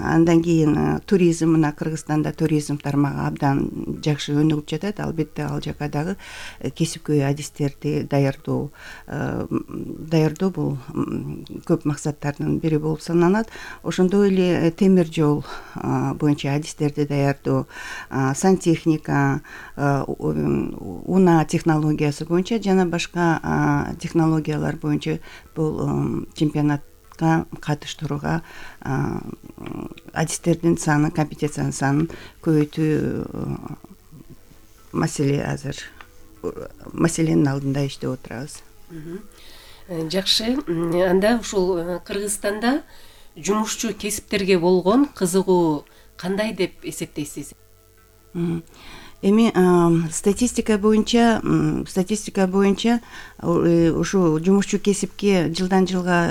Андан кийин туризм, мына Кыргызстанда туризм тармагы абдан жакшы өнүгүп жатат. Албетте ал жака дагы кесипкөй адистерди даярдоо бул көп максаттардын бири болуп саналат. Ошондой эле темир жол боюнча адистерди даярдоо, сантехника, унаа технологиясы боюнча жана башка технологиялар боюнча бул чемпионатка катыштырууга адистердин саны, компетенциянын санын көбөйтүү маселенин алдында иштеп отурабыз. Жакшы. Анда ушул Кыргызстанда жумушчу кесиптерге болгон кызыгуу кандай деп эсептейсиз? Эми статистика боюнча ушу жумушчу кесипке жылдан жылга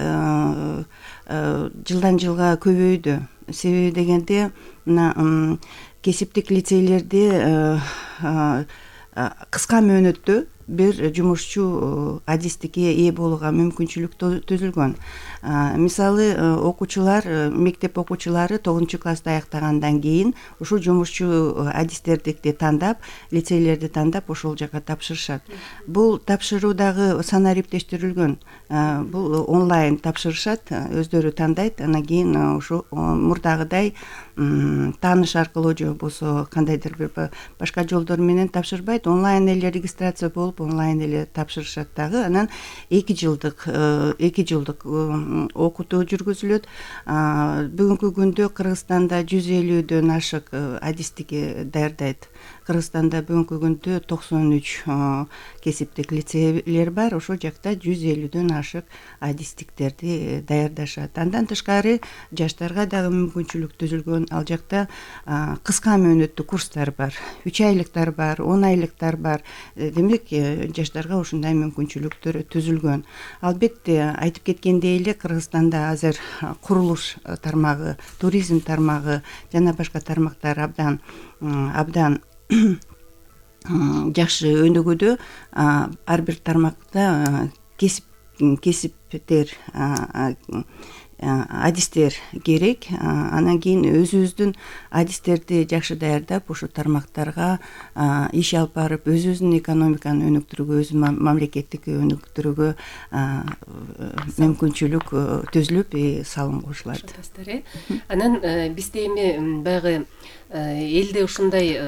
көбөйдү. Себеби дегенде мына кесиптик лицейлерде кыска мөөнөттө бир жумушчу адистикке ээ болууга мүмкүнчүлүк түзүлгөн. Мисалы мектеп окуучулары 9-классты аяктагандан кийин ушул жумушчу адистерди тандап, лицейлерди тандап ошол жака тапшырышат. Бул тапшыруу дагы санариптештирилгөн. Бул онлайн тапшырышат, өздөрү тандайт. Анан кийин ушу мурдагыдай тааныш аркылуу же болбосо кандайдыр бир башка жолдор менен тапшырбайт. Онлайн эле регистрация болуп, онлайн эле тапшырышат дагы. Анан 2 жылдык окутуу жүргүзүлөт. Бүгүнкү күндө Кыргызстанда 150дөн ашык адистикке даярдайт. Кыргызстанда бүгүнкү күндө 93 кесиптик лицейлер бар. Ошол жакта 150дөн ашык адистиктерди даярдашат. Андан тышкары жаштарга дагы мүмкүнчүлүк түзүлгөн. Ал жакта кыска мөөнөттүү курстар бар, 3 айлыктар бар, 10 айлыктар бар. Демек, жаштарга ушундай мүмкүнчүлүктөр түзүлгөн. Албетте, айтып кеткендей эле Кыргызстанда азыр курулуш тармагы, туризм тармагы жана башка тармактар абдан жакшы өнүгүүдө. Ар бир тармакта кесиптер, адистер керек. Анан кийин өзүбүздүн адистерди жакшы даярдап, ушу тармактарга иш алып барып, өзүбүздүн экономиканы өнүктүрүүгө, өзүбүздүн мамлекеттик өнүктүрүүгө мүмкүнчүлүк түзүлүп, салым кошулат. Анан бизде эми баягы элде ушундай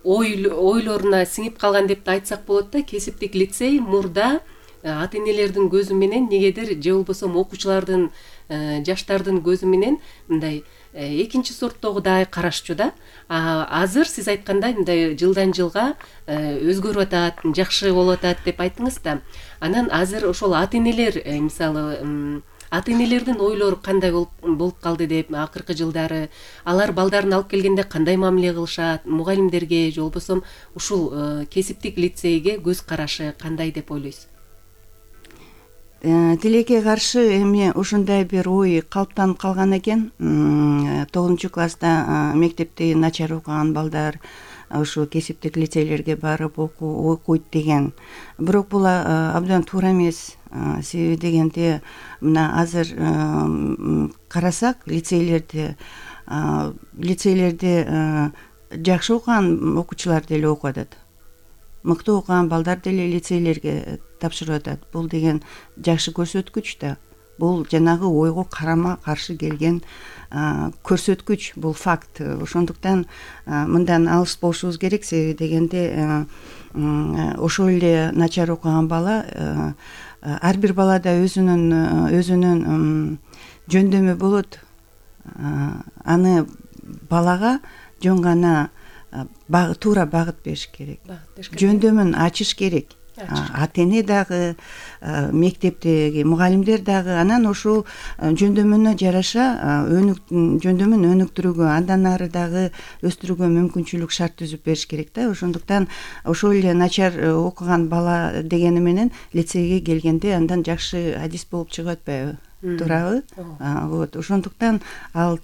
ойлоруна сиңип калган деп да айтсак болот да, кесиптик лицей мурда ата энелердин көзү менен, негедир же болбосо окуучулардын, жаштардын көзү менен мындай экинчи сорттогудай карашчу да. Азыр сиз айткандай мындай жылдан жылга өзгөрүп атат, жакшы болуп атат деп айттыңыз да. Анан азыр ошол ата энелер, мисалы ата энелердин ойлору кандай болуп калды деп, акыркы жылдары алар балдарын алып келгенде кандай мамиле кылышат, мугалимдерге же болбосо ушул кесиптик лицейге көз карашы кандай деп ойлойсуз? Тилекке каршы эми ушундай бир ой калыптанып калган экен. 9-класста мектепти начар окуган балдар ушу кесиптик лицейлерге барып окуйт деген. Бирок бул абдан туура эмес. Себеби дегенде мына азыр карасак, лицейлерде жакшы окуган окуучулар деле окуп атат. Мыкты окуган балдар деле лицейлерге тапшырып атат. Бул деген жакшы көрсөткүч да. Бул жанагы ойго карама каршы келген көрсөткүч, бул факт. Ошондуктан мындан алыс болушубуз керек. Себеби дегенде ошол эле начар окуган бала, ар бир балада өзүнүн жөндөмү болот. Аны балага жөн гана туура багыт бериш керек. Жөндөмүн ачыш керек. Ата эне дагы, мектептеги мугалимдер дагы анан ошол жөндөмүнө жараша жөндөмүн өнүктүрүүгө, андан ары дагы өстүрүүгө мүмкүнчүлүк, шарт түзүп бериш керек да. Ошондуктан ошол эле начар окуган бала дегени менен лицейге келгенде андан жакшы адис болуп чыгып атпайбы? туурабы? Вот ошондуктан ал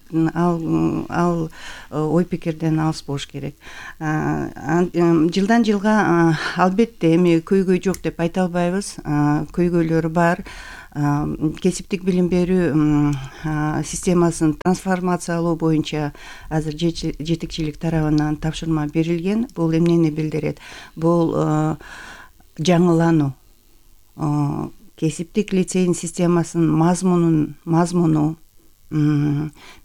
ой пикирден алыс болуш керек. Жылдан жылга албетте эми көйгөй жок деп айта албайбыз. Көйгөйлөрү бар. Кесиптик билим берүү системасын трансформациялоо боюнча азыр жетекчилик тарабынан тапшырма берилген. Бул эмнени билдирет? Бул жаңылануу. Кесиптик лицейдин системасынын мазмуну,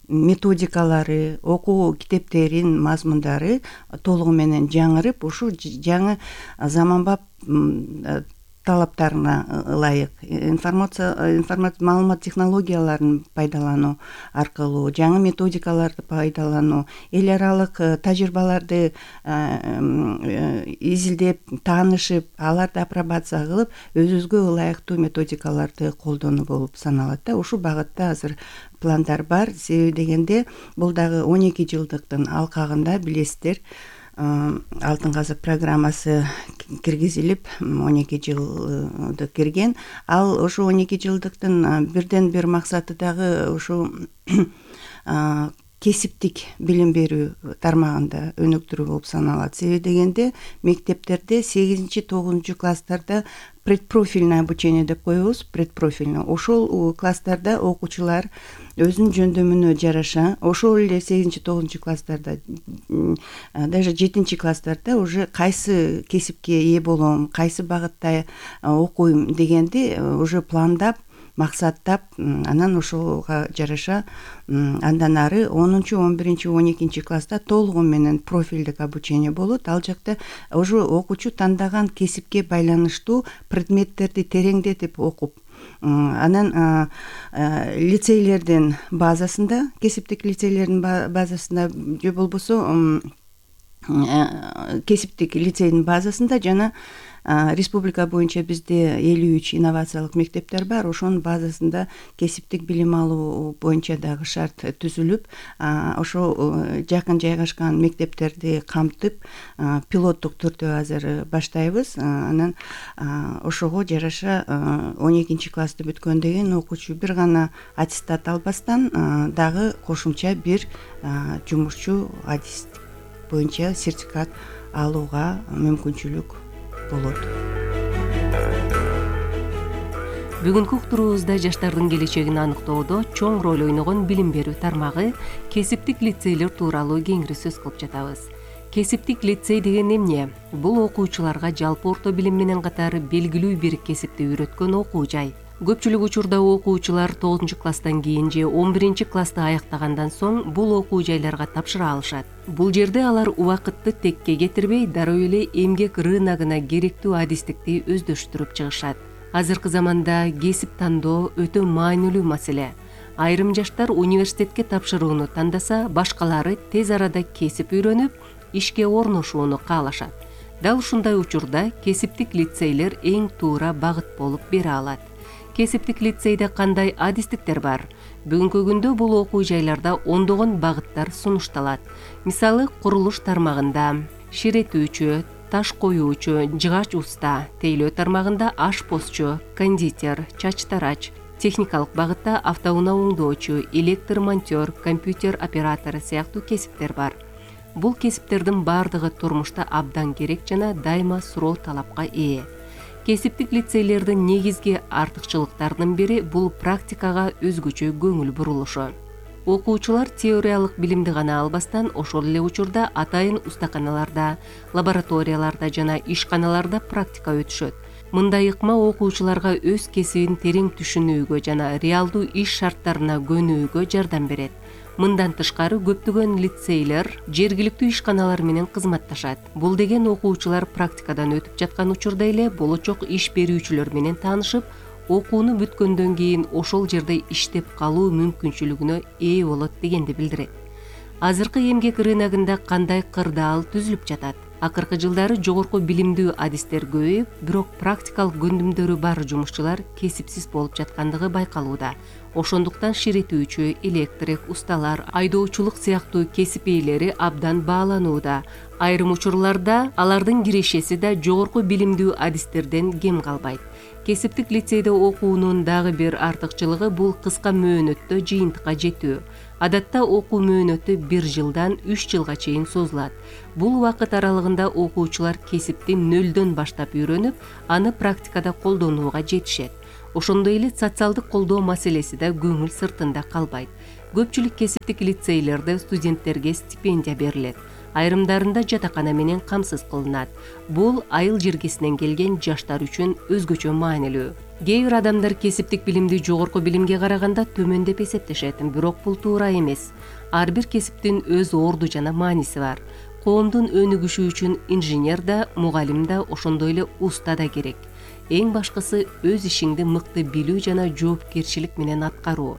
методикалары, окуу китептеринин мазмундары толугу менен жаңырып, ушул жаңы заманбап талаптарына ылайык маалымат технологияларын пайдалануу аркылуу, жаңы методикаларды пайдалануу, эл аралык тажрыйбаларды изилдеп, таанышып, аларды апробация кылып, өзүбүзгө ылайыктуу методикаларды колдонуу болуп саналат да. Ушул багытта азыр пландар бар. Себеби дегенде бул дагы 12 жылдыктын алкагында билесиздер, Алтын казык программасы киргизилип 12 жылды кирген. Ал ошо 12 жылдыктын бирден бир максаты дагы ушу кесиптик билим берүү тармагында өнүктүрүү болуп саналат. Себеби дегенде мектептерде 8-9 класстарда предпрофильное обучение деп коебуз. Предпрофильный ошол класстарда окуучулар өзүнүн жөндөмүнө жараша, ошол эле 8-9 класстарда, даже 7 класстарда уже кайсы кесипке ээ болом, кайсы багытта окуйм дегенди уже пландап, максаттап, анан ошого жараша андан ары 10-11-12 класста толугу менен профилдик обучение болот. Ал жакта уже окуучу тандаган кесипке байланыштуу предметтерди тереңдетип окуп, анан лицейлердин базасында, кесиптик лицейлердин базасында же болбосо кесиптик лицейдин базасында жана республика боюнча бизде 53 инновациялык мектептер бар. Ошонун базасында кесиптик билим алуу боюнча дагы шарт түзүлүп, ошо жакын жайгашкан мектептерди камтып, пилоттук түрдө азыр баштайбыз. Анан ошого жараша 12 классты бүткөндөн кийин окуучу бир гана аттестат албастан дагы кошумча бир жумушчу адистик боюнча сертификат алууга мүмкүнчүлүк болот. Бүгүнкү уктуруубузда жаштардын келечегин аныктоодо чоң роль ойногон билим берүү тармагы кесиптик лицейлер тууралуу кеңири сөз кылып жатабыз. Кесиптик лицей деген эмне? Бул окуучуларга жалпы орто билим менен катары белгилүү бир кесипти үйрөткөн окуу жай. Көпчүлүк учурда окуучулар 9 класстан кийин же 11 классты аяктагандан соң бул окуу жайларга тапшыра алышат. Бул жерде алар убакытты текке кетирбей, дароо эле эмгек рыногуна керектүү адистикти өздөштүрүп чыгышат. Азыркы заманда кесип тандоо өтө маанилүү маселе. Айрым жаштар университетке тапшырууну тандаса, башкалары тез арада кесип үйрөнүп, ишке орношууну каалашат. Дал ушундай учурда кесиптик лицейлер эң туура багыт болуп бере алат. Кесиптик лицейде кандай адистиктер бар? Бүгүнкү күндө бул окуу жайларда ондогон багыттар сунушталат. Мисалы, курулуш тармагында ширетүүчү, таш коюучу, жыгач уста, тейлөө тармагында ашпозчу, кондитер, чач тарач, техникалык багытта автоунаа оңдоочу, электр монтер, компьютер оператору сыяктуу кесиптер бар. Бул кесиптердин бардыгы турмушта абдан керек жана дайыма суроо талапка ээ. Кесиптик лицейлердин негизги артыкчылыктарынын бири бул практикага өзгөчө көңүл бурулушу. Окуучулар теориялык билимди гана албастан, ошол эле учурда атайын устаканаларда, лабораторияларда жана ишканаларда практика өтүшөт. Мындай ыкма окуучуларга өз кесибин терең түшүнүүгө жана реалдуу иш шарттарына көнүүгө жардам берет. Мындан тышкары көптөгөн лицейлер жергиликтүү ишканалар менен кызматташат. Бул деген окуучулар практикадан өтүп жаткан учурда эле болочок иш берүүчүлөр менен таанышып, окууну бүткөндөн кийин ошол жерде иштеп калуу мүмкүнчүлүгүнө ээ болот дегенди билдирет. Азыркы эмгек рыногунда кандай кырдаал түзүлүп жатат? Акыркы жылдары жогорку билимдүү адистер көбөйүп, бирок практикалык көндүмдөрү бар жумушчулар кесипсиз болуп жаткандыгы байкалууда. Ошондуктан ширетүүчү, электрик, усталар, айдоочулук сыяктуу кесип ээлери абдан бааланууда. Айрым учурларда алардын кирешеси да жогорку билимдүү адистерден кем калбайт. Кесиптик лицейде окуунун дагы бир артыкчылыгы бул кыска мөөнөттө жыйынтыкка жетүү. Адатта окуу мөөнөтү 1 жылдан 3 жылга чейин созулат. Бул убакыт аралыгында окуучулар кесипти нөлдөн баштап үйрөнүп, аны практикада колдонууга жетишет. Ошондой эле социалдык колдоо маселеси да көңүл сыртында калбайт. Көпчүлүк кесиптик лицейлерде студенттерге стипендия берилет. Айрымдарында жатакана менен камсыз кылынат. Бул айыл жергесинен келген жаштар үчүн өзгөчө маанилүү. Кээ бир адамдар кесиптик билимди жогорку билимге караганда төмөн деп эсептешет, бирок бул туура эмес. Ар бир кесиптин өз орду жана мааниси бар. Коомдун өнүгүшү үчүн инженер да, мугалим да, ошондой эле уста да керек. Эң башкысы өз ишиңди мыкты билүү жана жоопкерчилик менен аткаруу.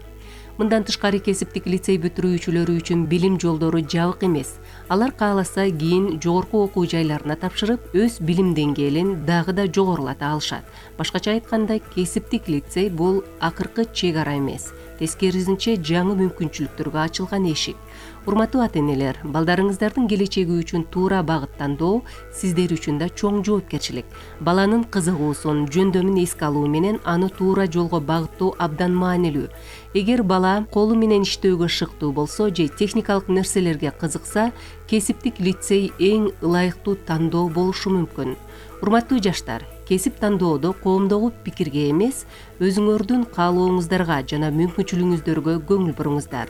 Мындан тышкары кесиптик лицей бүтүрүүчүлөрү үчүн билим жолдору жабык эмес. Алар кааласа кийин жогорку окуу жайларына тапшырып, өз билим деңгээлин дагы да жогорулата алышат. Башкача айтканда, кесиптик лицей бул акыркы чек ара эмес, тескерисинче жаңы мүмкүнчүлүктөргө ачылган эшик. Урматтуу ата-энелер, балдарыңыздардын келечеги үчүн туура багыт тандоо сиздер үчүн да чоң жоопкерчилик. Баланын кызыгуусун, жөндөмүн эске алуу менен аны туура жолго багыттоо абдан маанилүү. Эгер бала колу менен иштөөгө шыктуу болсо же техникалык нерселерге кызыкса, кесиптик лицей эң ылайыктуу тандоо болушу мүмкүн. Урматтуу жаштар, кесип тандоодо коомдогу пикирге эмес, өзүңөрдүн каалооңуздарга жана мүмкүнчүлүгүңүздөргө көңүл буруңуздар.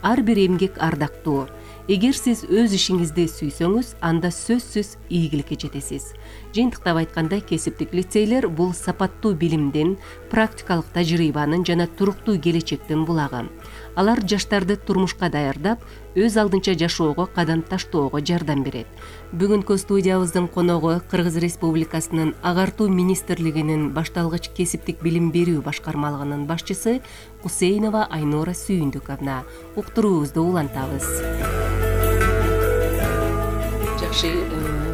Ар бир эмгек ардактуу. Эгер сиз өз ишиңизди сүйсөңүз, анда сөзсүз ийгиликке жетесиз. Жыйынтыктап айтканда, кесиптик лицейлер бул сапаттуу билимдин, практикалык тажрыйбанын жана туруктуу келечектин булагы. Алар жаштарды турмушка даярдап, өз алдынча жашоого кадам таштоого жардам берет. Бүгүнкү студиябыздын коногу Кыргыз Республикасынын Агартуу министрлигинин башталгыч кесиптик билим берүү башкармалыгынын башчысы Кусейнова Айнура Сүйүндүковна. Уктуруубузду улантабыз. Жакшы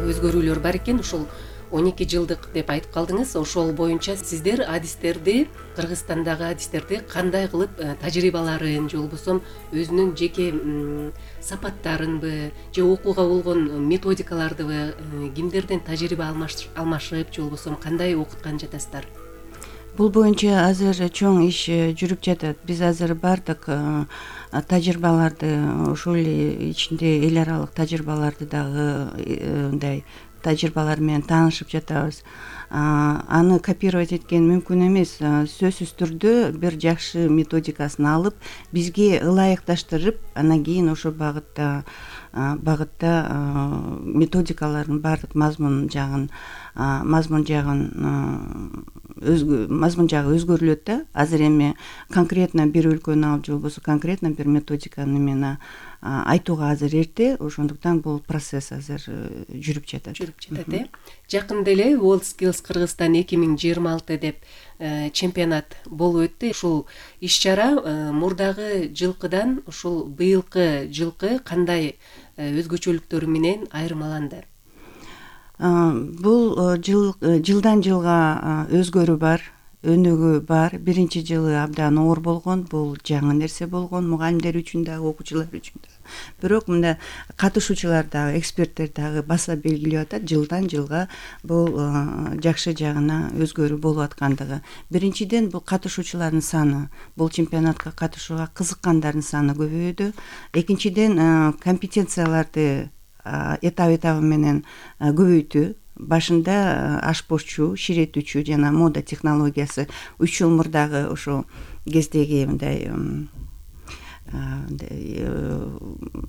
өзгөрүүлөр бар экен. Ушул 12 жылдык деп айтып калдыңыз. Ошол боюнча сиздер адистерди, Кыргызстандагы адистерди кандай кылып тажрыйбаларын же болбосо өзүнүн жеке сапаттарынбы же окууга болгон методикалардыбы кимдерден тажрыйба алмашып же болбосо кандай окуткан жатасыздар? Бул боюнча азыр чоң иш жүрүп жатат. Биз азыр бардык тажрыйбаларды, ошол эле ичинде эл аралык тажрыйбаларды дагы мындай тажрыйбалар менен таанышып жатабыз. Аны копировать эткен мүмкүн эмес. Сөзсүз түрдө бир жакшы методикасын алып, бизге ылайыкташтырып, анан кийин ошо багытта методикалардын баардык мазмун жагы өзгөрүлөт да. Азыр эми конкретно бир өлкөнү алып же болбосо конкретно бир методиканы мен айтууга азыр эрте, ошондуктан бул процесс азыр жүрүп жатат. Жакында эле World Skills Кыргызстан 2026 деп чемпионат болуп өттү. Ушул иш-чара мурдагы жылкыдан ушул быйылкы жылкы кандай өзгөчөлүктөрү менен айырмаланды? Бул жылдан жылга өзгөрүү бар, өнүгүү бар. Биринчи жылы абдан оор болгон, бул жаңы нерсе болгон мугалимдер үчүн дагы, окуучулар үчүн дагы. Бирок мында катышуучулар дагы, эксперттер дагы баса белгилеп атат, жылдан жылга бул жакшы жагына өзгөрүү болуп аткандыгы. Биринчиден бул катышуучулардын саны, бул чемпионатка катышууга кызыккандардын саны көбөйдү. Экинчиден компетенцияларды этап менен көбөйтүү. Башында ашпозчу, ширетүүчү жана мода технологиясы 3 жыл мурдагы ошо кездеги мындай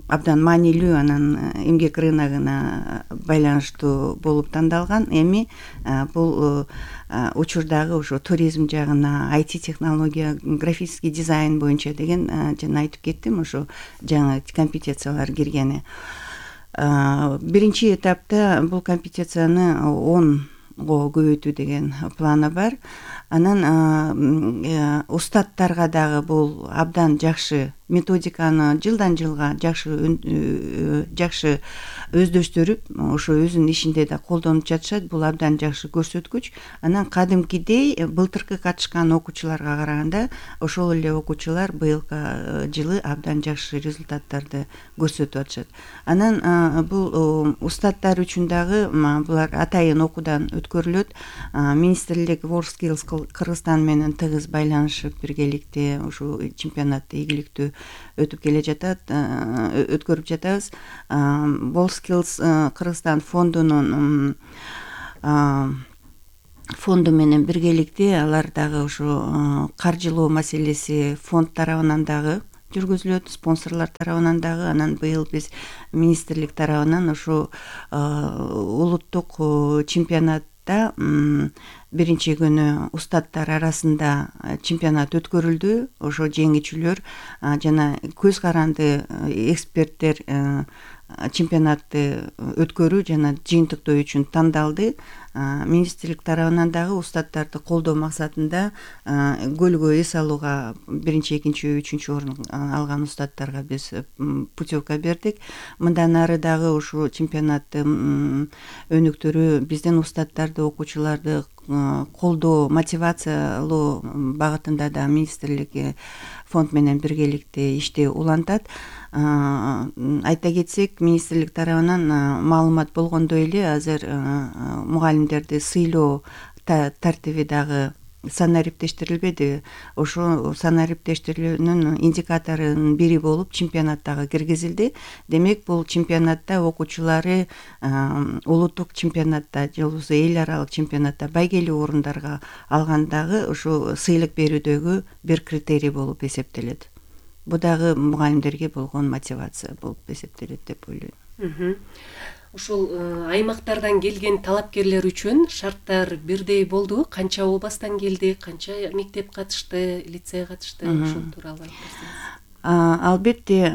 абдан маанилүү, анан эмгек рыногуна байланыштуу болуп тандалган. Эми бул учурдагы ошо туризм жагына, IT технология, графический дизайн боюнча деген жана айтып кеттим, ошо жаңы компетенциялар киргени. Биринчи этапта бул компетенцияны 10го көбөйтүү деген планы бар. Анан устаттарга дагы бул абдан жакшы методиканы жылдан жылга жакшы өздөштүрүп, ошо өзүнүн ишинде да колдонуп жатышат. Бул абдан жакшы көрсөткүч. Анан кадимкидей былтыркы катышкан окуучуларга караганда ошол эле окуучулар быйылкы жылы абдан жакшы результаттарды көрсөтүп атышат. Анан бул устаттар үчүн дагы булар атайын окуудан өткөрүлөт. Министрлик WorldSkills Кыргызстан менен тыгыз байланышып биргеликте ушул чемпионатты игиликтүү өткөрүп жатабыз. WorldSkills Кыргызстан фонду менен биргеликте алар дагы ушу каржылоо маселеси фонд тарабынан дагы жүргүзүлөт, спонсорлор тарабынан дагы. Анан быйыл биз министрлик тарабынан ушу улуттук чемпионатта биринчи күнү устаттар арасында чемпионат өткөрүлдү. Ошо жеңүүчүлөр жана көз каранды эксперттер чемпионатты өткөрүү жана жыйынтыктоо үчүн тандалды. Министрлик тарабынан дагы устаттарды колдоо максатында көлгө эс алууга биринчи, экинчи, үчүнчү орун алган устаттарга биз путевка бердик. Мындан ары дагы ушул чемпионатты өнүктүрүү, биздин устаттарды, окуучуларды колдоо, мотивациялоо багытында да министрлик фонд менен биргеликте ишти улантат. Айта кетсек, министрлик тарабынан маалымат болгондой эле азыр мугалимдерди сыйлоо тартиби дагы санариптештирилбеди. Ошо санариптештирүүнүн индикаторунун бири болуп чемпионаттагы киргизилди. Демек, бул чемпионатта окуучулары улуттук чемпионатта же болбосо эл аралык чемпионатта байгелүү орундарга алгандагы ушу сыйлык берүүдөгү бир критерий болуп эсептелет. Бул дагы мугалимдерге болгон мотивация болуп эсептелет деп ойлойм. Ушул аймактардан келген талапкерлер үчүн шарттар бирдей болдубу? Канча областтан келди, канча мектеп катышты, лицей катышты, ушул тууралуу айтсаңыз. Албетте,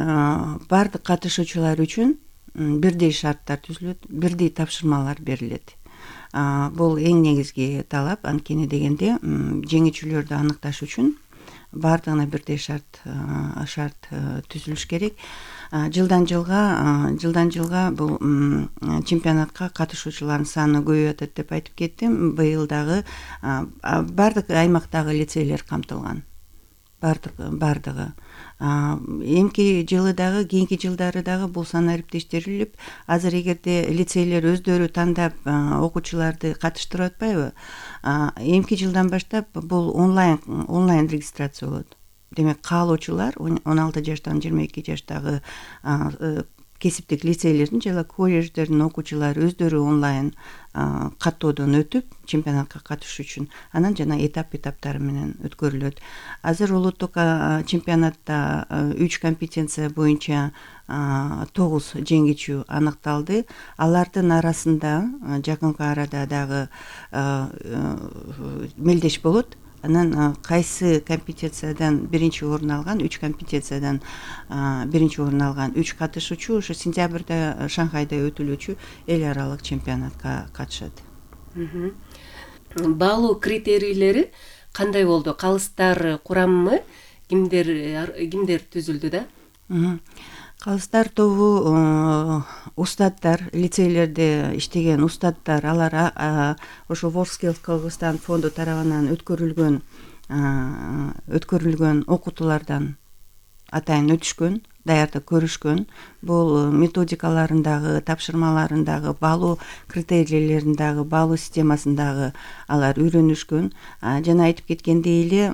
бардык катышуучулар үчүн бирдей шарттар түзүлөт, бирдей тапшырмалар берилет. Бул эң негизги талап. Анткени дегенде жеңүүчүлөрдү аныкташ үчүн бардыгына бирдей шарт түзүлүш керек. Жылдан жылга бул чемпионатка катышуучулардын саны көбөйүп атат деп айтып кеттим. Быйыл дагы бардык аймактагы лицейлер камтылган. Бардыгы. Эмки жылы дагы, кийинки жылдары дагы бул санариптештирилип, азыр эгерде лицейлер өздөрү тандап окуучуларды катыштырып атпайбы? Эмки жылдан баштап бул онлайн регистрация болот. Демек, каалоочулар 16 жаштан 22 жаштагы кесиптик лицейлердин жана колледждердин окуучулары өздөрү онлайн каттоодон өтүп чемпионатка катышуу үчүн анан жана этаптары менен өткөрүлөт. Азыр улуттук чемпионатта 3 компетенция боюнча 9 жеңүүчү аныкталды. Алардын арасында жакынкы арада дагы мелдеш болот. Анан кайсы компетенциядан биринчи орун алган, 3 компетенциядан биринчи орун алган 3 катышуучу ошо сентябрда Шанхайда өтүлүүчү эл аралык чемпионатка катышат. Баалоо критерийлери кандай болду? Калыстар курамы кимдер түзүлдү да? Калыстар тобу устаттар, лицейлерде иштеген устаттар, алар ошо WorldSkills Кыргызстан фонду тарабынан өткөрүлгөн окутуулардан атайын өтүшкөн, даярдык көрүшкөн. Бул методикаларындагы, тапшырмаларындагы, баалоо критерийлериндагы, баалоо системасындагы алар үйрөнүшкөн. Жана айтып кеткендей эле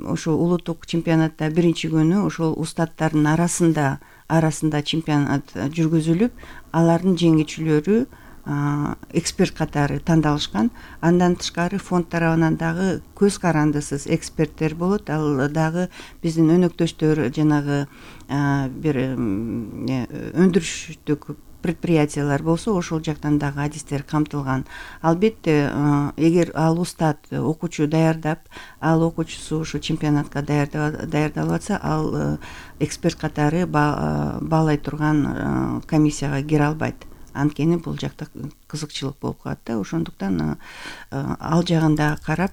ошо улуттук чемпионатта биринчи күнү ошол устаттардын арасында чемпионат жүргүзүлүп, алардын жеңүүчүлөрү эксперт катары тандалышкан. Андан тышкары фонд тарабынан дагы көз карандысыз эксперттер болот. Ал дагы биздин өнөктөштөр жанагы бир өндүрүштүк предприятиялар болсо, ошол жактан дагы адистер камтылган. Албетте, эгер ал устат окуучу даярдап, ал окуучусу ошо чемпионатка даярдалып атса, ал эксперт катары баалай турган комиссияга кире албайт. анткени бул жакта кызыкчылык болуп калат да. Ошондуктан ал жагында карап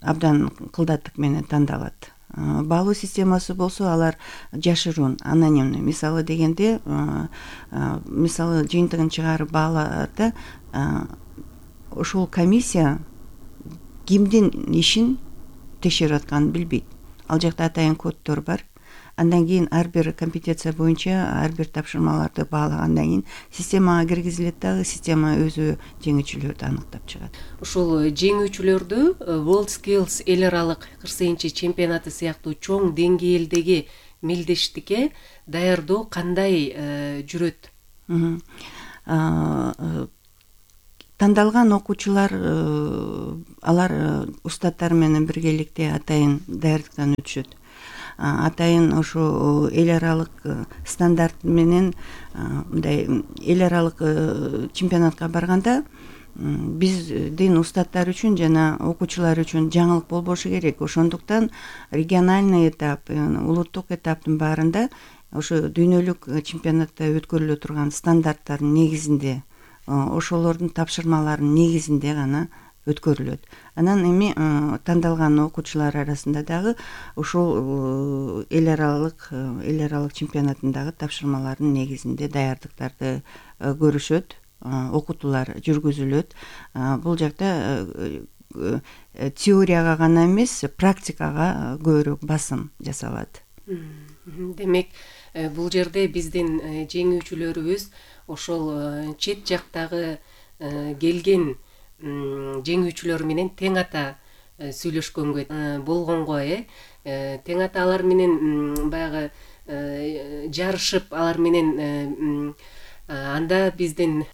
абдан кылдаттык менен тандалат. Баалуу системасы болсо алар жашыруун, анонимный. Мисалы дегенде, мисалы жыйынтыгын чыгарып баалаат, ошол комиссия кимдин ишин текшерип атканын билбейт. Ал жакта атайын коддор бар. Андан кийин ар бир компетенция боюнча ар бир тапшырмаларды баалагандан кийин системага киргизилет дагы, система өзү жеңүүчүлөрдү аныктап чыгат. Ушул жеңүүчүлөрдү WorldSkills эл аралык 48 чемпионаты сыяктуу чоң деңгээлдеги мелдештикке даярдоо кандай жүрөт? Тандалган окуучулар алар устаттар менен биргеликте атайын даярдыктан өтүшөт. Атайын ошо эл аралык стандарт менен мындай эл аралык чемпионатка барганда биздин устаттар үчүн жана окуучулар үчүн жаңылык болбошу керек. Ошондуктан региональный этап, улуттук этаптын баарында ошо дүйнөлүк чемпионатта өткөрүлө турган стандарттардын негизинде, ошолордун тапшырмаларынын негизинде гана өткөрүлөт. Анан эми тандалган окуучулар арасында дагы ошол эл аралык чемпионатындагы тапшырмалардын негизинде даярдыктарды көрүшөт, окутуулар жүргүзүлөт. Бул жакта теорияга гана эмес, практикага көбүрөөк басым жасалат. Демек, бул жерде биздин жеңүүчүлөрүбүз ошол чет жактагы келген жеңүүчүлөр менен тең ата сүйлөшкөнгө болгонго, тең ата алар менен баягы жарышып, алар менен анда биздин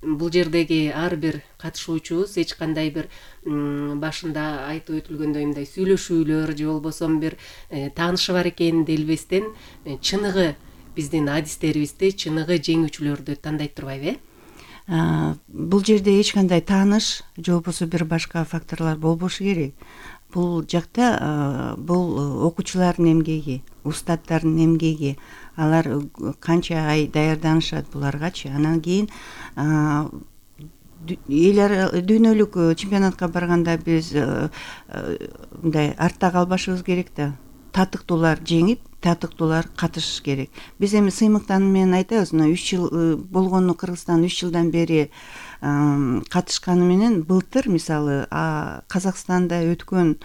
бул жердеги ар бир катышуучубуз эч кандай бир башында айтып өтүлгөндөй мындай сүйлөшүүлөр же болбосо бир таанышы бар экенин делбестен чыныгы биздин адистерибизди, чыныгы жеңүүчүлөрдү тандайт турбайбы? Бул жерде эч кандай тааныш же болбосо бир башка факторлор болбошу керек. Бул жакта бул окуучулардын эмгеги, устаттардын эмгеги, алар канча ай даярданышат буларгачы. Анан кийин дүйнөлүк чемпионатка барганда биз мындай артта калбашыбыз керек да. Татыктуулар жеңип, татыктуулар катышыш керек. Биз эми сыймыктан менен айтабыз, 3 жыл болгону Кыргызстан 3 жылдан бери катышканы менен былтыр мисалы Казакстанда өткөн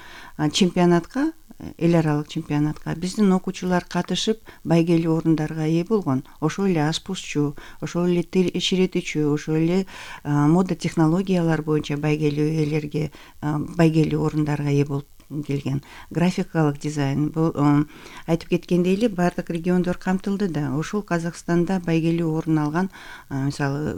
чемпионатка, эл аралык чемпионатка биздин окуучулар катышып байгелүү орундарга ээ болгон. Ошол эле ашпузчу, ошол эле ширетүүчү, ошол эле мода технологиялар боюнча байгелүү ээлерге байгелүү орундарга ээ болуп келген. Графикалык дизайн, бул айтып кеткендей эле бардык региондор камтылды да. Ошол Казакстанда байгелүү орун алган, мисалы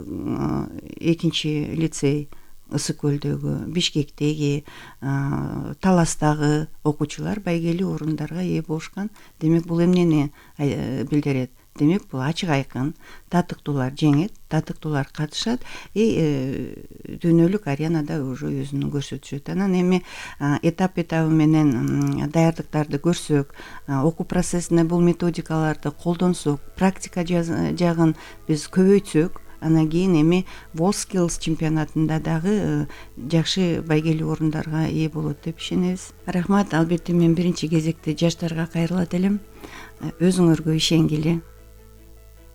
2 лицей Ысык көлдөгү, Бишкектеги, Таластагы окуучулар байгелүү орундарга ээ болушкан. Демек бул эмнени билдирет? Демек бул ачык айкын, татыктуулар жеңет, татыктуулар катышат, дүйнөлүк аренада уже өзүн көрсөтүшөт. Анан эми этап менен даярдыктарды көрсөк, окуу процессине бул методикаларды колдонсок, практика жагын биз көбөйтсөк, анан кийин эми WorldSkills чемпионатында дагы жакшы байгелүү орундарга ээ болот деп ишенебиз. Рахмат. Албетте мен биринчи кезекте жаштарга кайрылат элем. Өзүңөргө ишенгиле.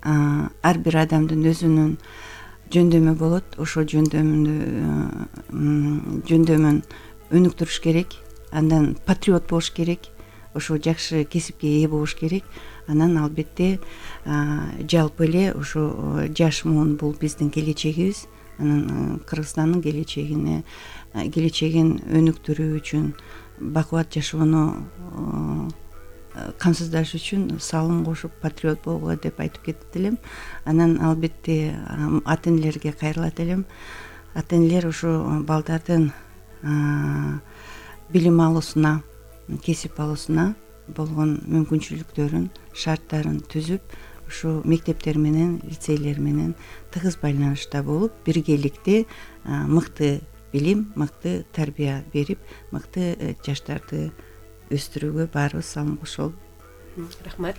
Ар бир адамдын өзүнүн жөндөмү болот. Ошол жөндөмүн өнүктүрүш керек. Андан патриот болуш керек. Ошо жакшы кесипке ээ болуш керек. Анан албетте жалпы эле ошо жаш муун бул биздин келечегибиз. Анан Кыргызстандын келечегин өнүктүрүү үчүн, бакубат жашоону камсыздаш үчүн салым кошуп патриот болгула деп айтып кетет элем. Анан албетте ата энелерге кайрылат элем. Ата энелер ошо балдардын билим алуусуна, кесип алуусуна болгон мүмкүнчүлүктөрүн, шарттарын түзүп, ошо мектептер менен, лицейлер менен тыгыз байланышта болуп, биргеликте мыкты билим, мыкты тарбия берип, мыкты жаштарды өстүрүүгө баарыбыз салым кошолу. Рахмат.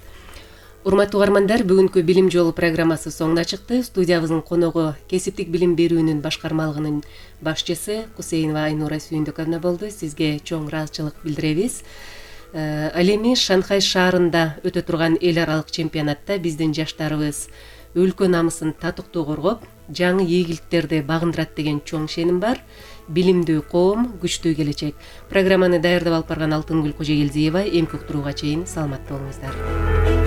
Урматтуу угармандар, бүгүнкү Билим жолу программасы соңуна чыкты. Студиябыздын коногу кесиптик билим берүүнүн башкармалыгынын башчысы Кусейинова Айнура Сүйүндүковна болду. Сизге чоң ыраазычылык билдиребиз. Ал эми Шанхай шаарында өтө турган эл аралык чемпионатта биздин жаштарыбыз өлкө намысын татыктуу коргоп, жаңы ийгиликтерди багындырат деген чоң ишеним бар. Билимдүү коом, күчтүү келечек. Программаны даярдап алып барган Алтынгүл Кожогелдиева. Эмки уктурууга чейин саламатта болуңуздар.